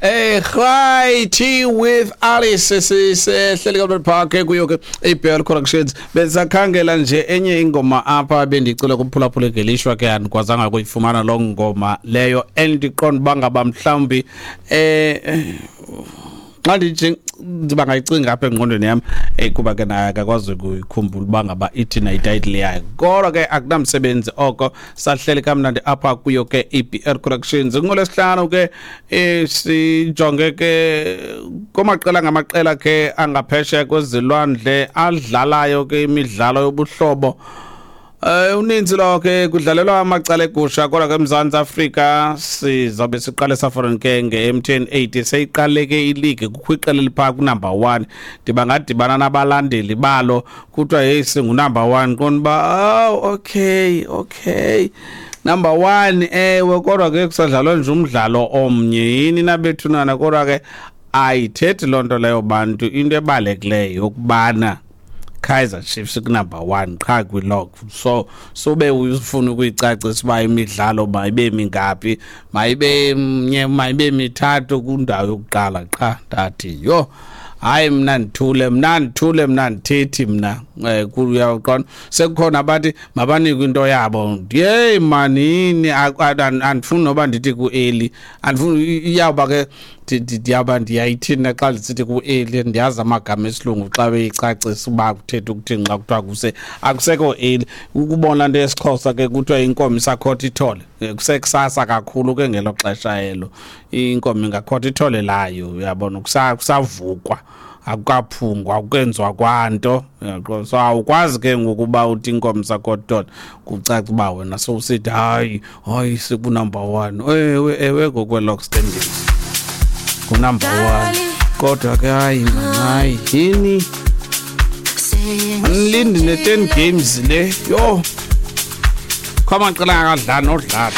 Right with Alice, sisehleli kaBrad Park kuyo ke iBell Corrections. Besakhangela nje enye ingoma apha bendicela kuphulaphula, ngelishwa ke andikwazanga kuyifumana loo ngoma leyo, endiqonda uba ngaba mhlawumbi xa ndithi ndiba ngayicinga apha engqondweni yam, kuba ke naye akakwazi ukuyikhumbula uba ngaba ithi na ititle yayo, kodwa ke akunamsebenzi oko. Sahleli kamnandi apha kuyo ke i-BR Corrections. NgoLwesihlanu ke sijonge ke kumaqela ngamaqela ke angaphesheya kwezilwandle adlalayo ke imidlalo yobuhlobo. Uninzi lo ke kudlalelwa amacala egusha, kodwa ke eMzantsi Afrika sizabe siqale saforen ke nge-MTN 8. Seyiqale ke ileague, kukho iqela eliphaa kunumber 1. Ndiba ngadibana nabalandeli balo, kuthiwa heyi, singunumber 1, qonda uba oh, okay, number 1, ewe, kodwa ke kusadlalwa nje umdlalo omnye. Yini nabethunana? Kodwa ke ayithethi loo nto leyo bantu. Into ebalulekileyo yokubana Kaizer Chiefs kunumber 1 qha kwilog, so sube ufuna ukuyicacisa uba imidlalo mayibe mingaphi, mayibe mnye, mayibe mithathu, kwindawo yokuqala qha. Ndathi yho, hayi, mna ndithule, mna ndithule, mna ndithethi mna. Kuyaqonda sekukhona abathi mabanikwe into yabo. Yeyi manini, andifuni noba ndithi ku-early, andifuni iyawuba ke ndiyawuba ndiyayithini xa ndisithi ku-early. Ndiyazi amagama esilungu xa beyicacisa uba kuthetha ukuthini xa kuthiwa kuse akusekho early. Ukubona nto yesiXhosa ke kuthiwa inkomo isakhotha ithole. Kusekusasa kakhulu ke ngelo xesha elo, inkomo ingakhotha ithole layo, uyabona, kusavukwa, akukaphungwa, akukenziwa kwanto. Uyaqonda? So awukwazi ke ngokuba uthi inkomo sakhotha, kucaca uba wena sowusithi hayi hayi, sikunumber one. Ewe, ewe, ngokwe-log standings ngunumber one, kodwa ke hayi man, hayi yini, anilindi ne-10 games le. Yho, kho amaqela akadlali nodlala.